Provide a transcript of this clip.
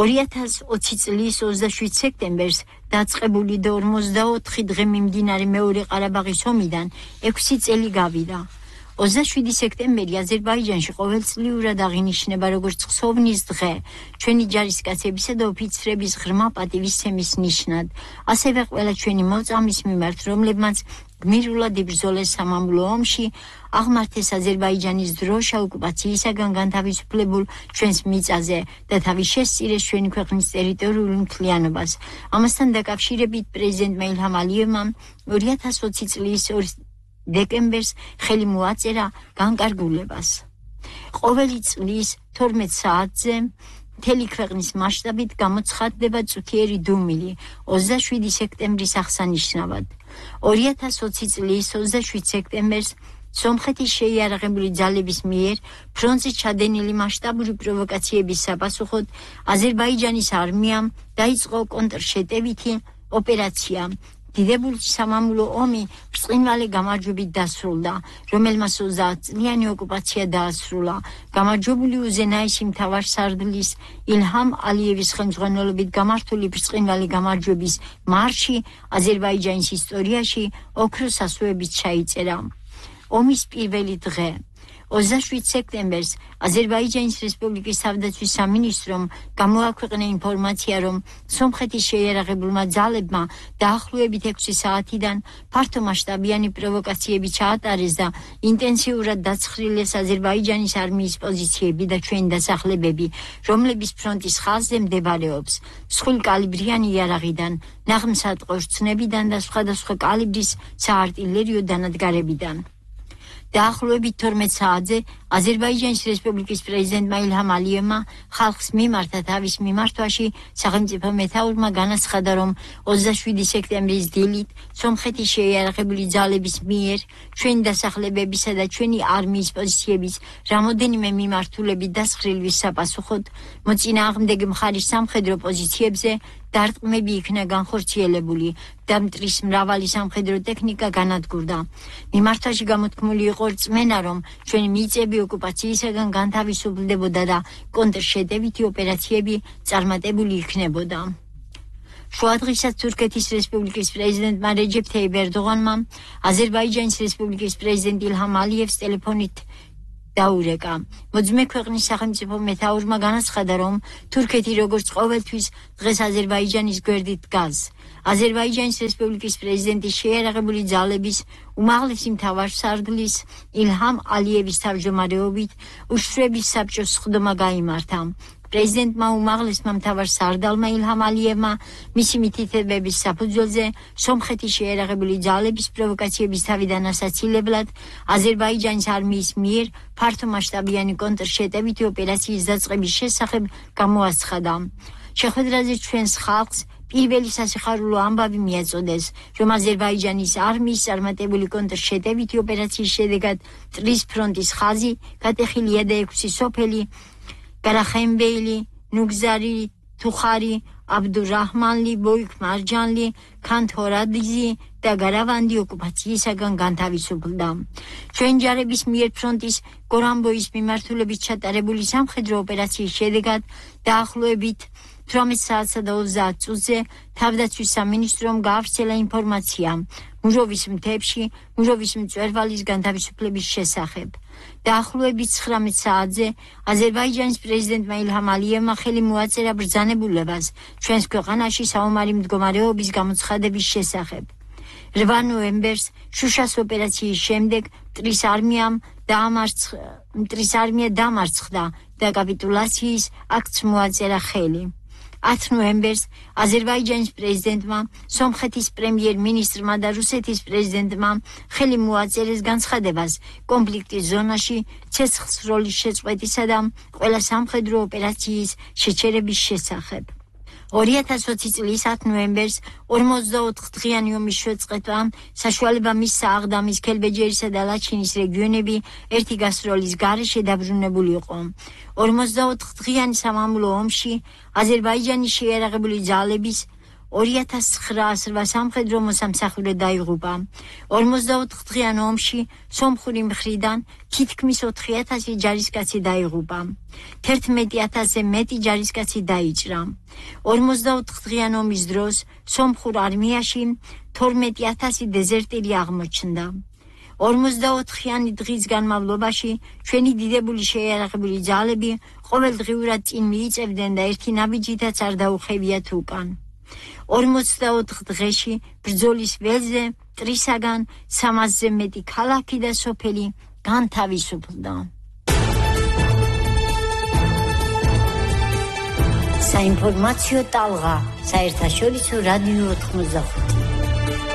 2020 წლის 27 სექტემბერს დაწყებული და 44 დღე მიმდინარე მეორე ყარაბაღის ომიდან 6 წელი გავიდა. 27 სექტემბერი აზერბაიჯანში ყოველწლიურად აღინიშნება როგორც ხსოვნის დღე, ჩვენი ჯარისკაცებისა და ოფიცრების ღრმა პატივისცემის ნიშნად, ასევე ყველა ჩვენი მოწამის მიმართ, რომლებმაც გმირულად იბრძოლეს სამამულო ომში, აღმართეს აზერბაიჯანის დროშა ოკუპაციისაგან განთავისუფლებულ ჩვენს მიწაზე და თავის შესწირეს ჩვენი ქვეყნის ტერიტორიულ მთლიანობას. ამასთან დაკავშირებით პრეზიდენტმა ილჰამ ალიევმა 2020 წლის დეკემბერს ხელი მოაწერა განკარგულებას. ყოველი წლის 12 საათზე მთელი ქვეყნის მასშტაბით გამოცხადდება წუთიერი დუმილი 27 სექტემბრის აღსანიშნავად. 2020 წლის 27 სექტემბერს სომხეთის შეიარაღებული ძალების მიერ ფრონტზე ჩადენილი მასშტაბური პროვოკაციების sapasუხოდ აზერბაიჯანის არმიამ დაიწყო კონტრშეტევითი ოპერაცია. დიდებული სამამულო ომი ბრწყინვალე გამარჯვებით დასრულდა, რომელმაც 30 წლიანი ოკუპაცია დაასრულა. გამარჯვებული უზენაესი მთავარსარდლის ილჰამ ალიევის ხელმძღვანელობით გამართული ბრწყინვალე გამარჯვების მარში აზერბაიჯანის ისტორიაში ოქროს ასოებით ჩაიწერა. ომის პირველი დღე 27 სექტემბერს აზერბაიჯანის რესპუბლიკის თავდაცვის სამინისტრომ გამოაქვეყნა ინფორმაცია, რომ სომხეთის შეიარაღებულმა ძალებმა დაახლოებით 6 საათიდან ფართომასშტაბიანი პროვოკაციები ჩაატარეს და ინტენსიურად დაცხრილეს აზერბაიჯანის არმიის პოზიციები და ჩვენი დასახლებები, რომლების ფრონტის ხაზზე მდებარეობს. მსხვილკალიბრიანი იარაღიდან, ნაღმსატყორცნებიდან და სხვადასხვა კალიბრის საარტილერიო დანადგარებიდან. დაახლოებით 12 საათზე აზერბაიჯანის რესპუბლიკის პრეზიდენტმა ილჰამ ალიევმა ხალხს მიმართა თავის მიმართვაში სახელმწიფო მეთაურმა განაცხადა, რომ 27 სექტემბრის დილით სომხეთის შეიარაღებული ძალების მიერ ჩვენი დასახლებებისა და ჩვენი არმიის პოზიციების რამოდენიმე მიმართულებით დასხრილვის საპასუხოდ მოწინააღმდეგე მხარის სამხედრო პოზიციებზე დარტყმები იქნა განხორციელებული და მტრის მრავალი სამხედრო ტექნიკა განადგურდა. მიმართვაში გამოთქმული იყო რწმენა, რომ ჩვენი მიწები ოკუპაციისაგან განთავისუფლდებოდა და კონტრშეტევითი ოპერაციები წარმატებული იქნებოდა. შუადღესაც თურქეთის რესპუბლიკის პრეზიდენტმა რეჯეფ თაიფ ერდოღანმა აზერბაიჯანის რესპუბლიკის პრეზიდენტ ილჰამ ალიევს ტელეფონით დაურეკა. მოძმე ქვეყნის სახელმწიფო მეთაურმა განაცხადა, რომ თურქეთი როგორც ყოველთვის დღეს აზერბაიჯანის გვერდით დგას. აზერბაიჯანის რესპუბლიკის პრეზიდენტის შეიარაღებული ძალების უმაღლესი მთავარსარდლის ილჰამ ალიევის თავმჯდომარეობით უშვრების საბჭოს სხდომა გაიმართა. პრეზიდენტმა უმაღლესმა მთავარსარდალმა ილჰამ ალიევმა მისი მითითებების საფუძველზე სომხეთის შეიარაღებული ძალების პროვოკაციების თავიდან ასაცილებლად აზერბაიჯანის არმიის მიერ ფართომასშტაბიანი კონტრშეტევითი ოპერაციის დაწყების შესახებ გამოაცხადა. შეხვედრაზე ჩვენს ხალხს პირველი სასიხარულო ამბავი მიაწოდეს, რომ აზერბაიჯანის არმიის წარმატებული კონტრშეტევითი ოპერაციის შედეგად მტრის ფრონტის ხაზი გატეხილია და 6 სოფელი გარახემბეილი, ნუგზარი, თუხარი, აბდურაჰმანლი, ბოიქ მარჯანლი, ქანთორადიზი და გარავანდი ოკუპაციისაგან განთავისუფლდა. ჩვენ ჯარების მიერ ფრონტის გორამბოის მიმართულებით ჩატარებული სამხედრო ოპერაციის შედეგად დაახლოებით 18 საათსა და 30 წუთზე თავდაცვის სამინისტრომ გაავრცელა ინფორმაცია მუჟოვის მთებში მუჟოვის მწვერვალის განთავისუფლების შესახებ. დაახლოებით 19 საათზე აზერბაიჯანის პრეზიდენტმა ილჰამ ალიევმა ხელი მოაწერა ბრძანებულებას ჩვენს ქვეყანაში საომარი მდგომარეობის გამოცხადების შესახებ. 8 ნოემბერს შუშას ოპერაციის შემდეგ მტრის არმია დამარცხდა და კაპიტულაციის აქტს მოაწერა ხელი. 10 ნოემბერს აზერბაიჯანის პრეზიდენტმა, სომხეთის პრემიერ-მინისტრმა და რუსეთის პრეზიდენტმა ხელი მოაწერეს განცხადებას კონფლიქტის ზონაში ცეცხლის როლის შეწყვეტისა და ყველა სამხედრო ოპერაციის შეჩერების შესახებ. 2020 წლის 10 ნოემბერს 44 დღიანი ომის შეწყვეტამ საშუალება მისცა აღდამის, ქელბეჯერისა და ლაჩინის რეგიონები ერთი გასროლის გარეშე დაბრუნებული იყო. 44 დღიანი სამამულო ომში აზერბაიჯანის შეიარაღებული ძალების 2908 სამხედრო მოსამსახურე დაიღუპა. 44 დღიან ომში სომხური მხრიდან თითქმის 4000 ჯარისკაცი დაიღუპა. 11000-ზე მეტი ჯარისკაცი დაიჭრა. 44 დღიან ომის დროს სომხურ არმიაში 12000 დეზერტირი აღმოჩნდა. 44-იანი დღის განმავლობაში ჩვენი დიდებული შეიარაღებული ძალები ყოველდღიურად წინ მიიწევდნენ და ერთი ნაბიჯითაც არ დაუხევიათ უკან. 44 დღეში ბრძოლის ველზე მტრისაგან 300-ზე მეტი ქალაქი და სოფელი განთავისუფლდა. საინფორმაციო ტალღა, საერთაშორისო რადიო 95.